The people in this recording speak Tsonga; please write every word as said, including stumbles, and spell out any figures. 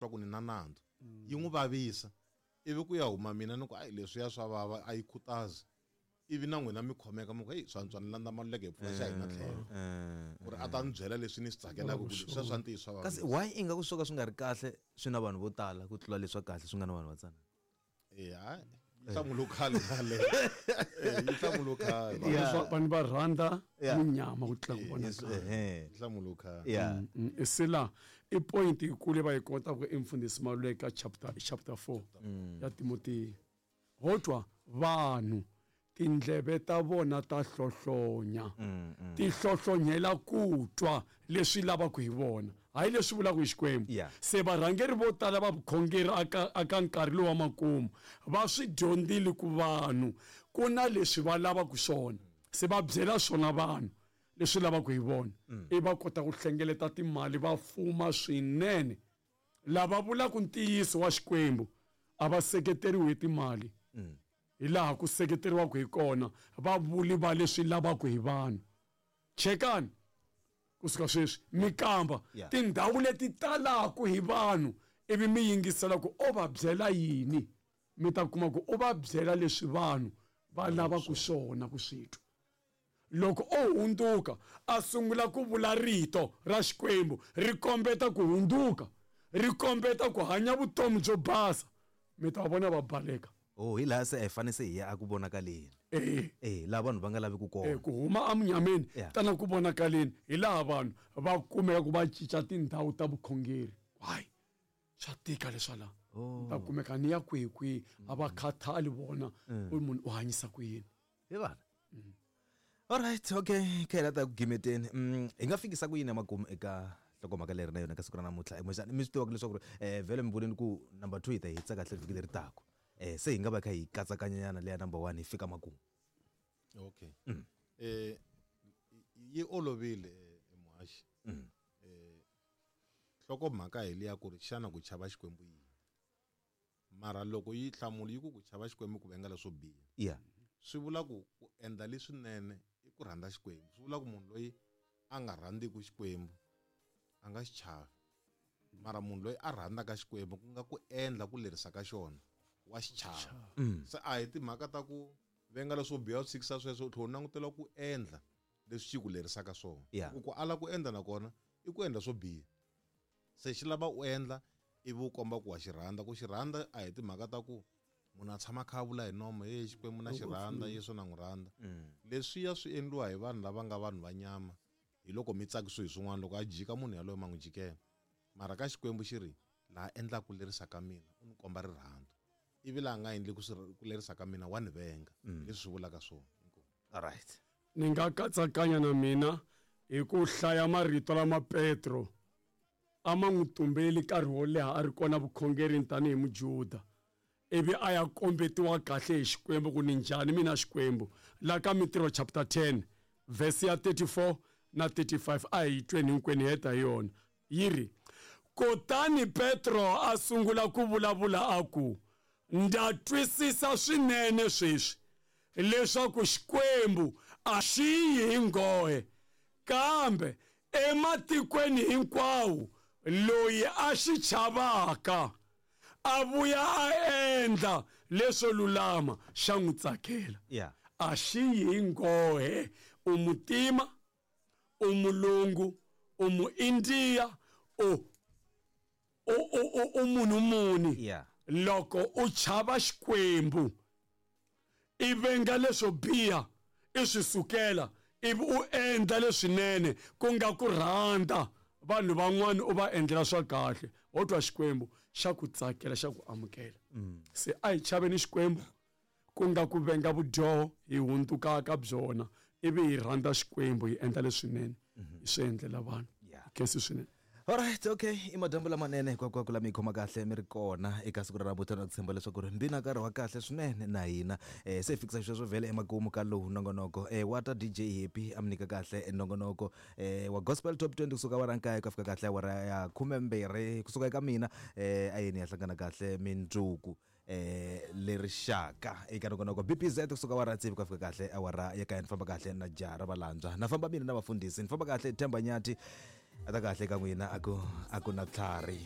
twa ku ni na nandzu yi n'wi vavisa ivi ku ya huma mina ni ku ayi leswiya swa vava a yi khutazi ivi na n'wina mi khomeka mi ku heyi swantswa ni landza Maluleke hi pfula xa hina tlhelo ku ri a ta ni byela leswi ni swi tsakelaka ku leswiya swa ntiyiso swa kasi vavisa why ingaku swo ka swi nga ri kahle swi na vanhu vo tala ku tlula leswa kahle swi nga na vanhu va tsanana e hayi yi hlamula khale yaleyo Eh, yi hlamula khale Yeah. Vanhu va- vanhu va rhandza Yeah. munyama ku tlula ku vona kahle ehe yi hlamula khale yeah Mm, se la i point yikulu va yi kotaka i mfundhisi Maluleke ka chapter chapter four ya Timotiya ho twa vanhu tindleve ta vona ta hlohlonya ti hlohlonyela ku twa leswi lavaka hi vona hayi leswi vulaka hi Xikwembu Yeah. se varhangeri vo tala va vukhongeri aka aka nkarhi lowu wa makumu va swi dyondzile ku vanhu ku na leswi va lavaka swona se va byela swona vanhu leswi lavaka hi vona i va kota ku hlengeleta timali va fuma swinene lava vulaka ntiyiso wa Xikwembu a va seketeriwi hi timali hi laha ku seketeriwaka hi kona va vuli va leswi lavaka hi vanhu chekani kusuka sweswi mi kamba Yeah. tindhawu leti talaka hi vanhu ivi mi yingisela ku o va byela yini mi ta kuma ku u va byela leswi vanhu va lavaka swona ku swi twa loko o hundzuka a sungula ku vula rito ra Xikwembu ri kombeta ku hundzuka ri kombeta ku hanya vutomi byo basa mi ta vona va baleka oh hi laha se a hi fane se hi ya a ku vonakaleni eh eh laha vanhu va nga lavi ku eh kona ku huma emunyameni Yeah. tana ku vonakaleni hi laha vanhu va kumeka ku va cinca tindhawu ta vukhongeri hayi swa tika leswa laha ta kumeka ni ya kwihi kwihi a va khathali vona ku munhu u hanyisa ku yini hi vana alright okay kha ta ku gimeteni mm, hi nga fikisa ku yini emakumu eka nhlokomhaka leri na yona ka siku ra namuntlha kumbexana mi swi tivaka leswaku ri eh vhele mi vuleni ku number two hi ta yi hetisa kahle vhiki leri taka eh se hi nga va kha hi katsakanyana leya number one hi fika makumu okay eh yi olovile eh, muhaxi eh nhlokomhaka hi liya ku ri xana ku chava Xikwembu yini mara loko yi hlamula yi ku ku chava Xikwembu ku venga leswo biha yeah swi vula ku ku endla leswinene i ku rhandza Xikwembu swi vula ku munhu loyi a nga rhandziku Xikwembu a nga xi chavi mara munhu loyi a rhandzaka Xikwembu ku nga ku endla ku lerisa ka xona wa xi chava se a hi timhaka ta ku venga leswo biha u tshikisa sweswo u tlhela u langutela ku endla leswi xi ku lerisaka swona Yeah. ku ku ala ku endla nakona i ku endla swo biha se xi lava u endla ivi u komba ku wa xi rhandza ku xi rhandza a hi timhaka ta ku munhu a tshama a kha a vula hi nomo hey Xikwembu na xi rhandza Yesu na n'wi rhandza leswiya swi endliwa hi vanhu lava nga vanhu va nyama hi loko mi tsakisiwe hi swin'wana loko a jika munhu yaloye ma n'wi jikela mara ka Xikwembu xi ri laha endlaka ku lerisa ka mina u ni komba rirhandzu ivi laha nga endli ku swi- ku lerisa ka mina wa ni venga leswi swi vulaka swona Inkomu. alright ni nga katsakanya na mina hi ku hlaya marito lama Petro a ma n'wi tumbeli nkarhi wo leha a ri kona vukhongerini tanihi mujuda ivi a ya kombetiwa kahle hi Xikwembu ku ni njhani mina Xikwembu la ka Mintirho chapter ten verse ya thirty-four na thirty-five a hi tweni hinkwenu hi heta hi yona yi ri kutani Petro a sungula ku vulavula a ku ndza twisisa swinene sweswi leswaku Xikwembu a xi yi hi nghohe kambe ematikweni hinkwawo loyi a xi chavaka a vuya a endla leswo lulama xa n'wi tsakela yeah a xi yi hi nghohe u mutima u mulungu u muindiya u u u u- u munhu muni yeah loko u chava Xikwembu i venga leswo biha i swi sukela ivi u endla leswinene ku nga ku rhandza vanhu van'wana u va endlela swa kahle ho twa Xikwembu xa ku tsakela xa ku amukela se a hi chaveni Xikwembu ku nga ku venga vudyoho hi hundzukaka byona ivi hi rhandza Xikwembu hi endla leswinene hi swi endlela vanhu Yeah. khensi swinene alright okay i madyambu lamanene hinkwako lama yi khoma kahle mi ri kona eka siku ra namuntlha na ku tshemba leswaku ri mbi na nkarhi wa kahle swinene na hina um se hi fikisa sweswo vhele emakumu ka lowu nongonoko um wa ta D J Happy a mi nyika kahle nongonoko um wa gospel top twenty kusuka awara nkaye ku ya fika kahle awara ya khumembirhi kusuka eka mina um a yini ya hlangana kahle mindzuku eh lerixaka eka nongonoko B P Z kusuka awara tsevu ku ya fika kahle awara ya kaya ni famba kahle na jara valandzwa na famba mina na vafundhisi ni famba kahle Themba Nyati a ta kahle ka n'wina a ku a ku na tlhari.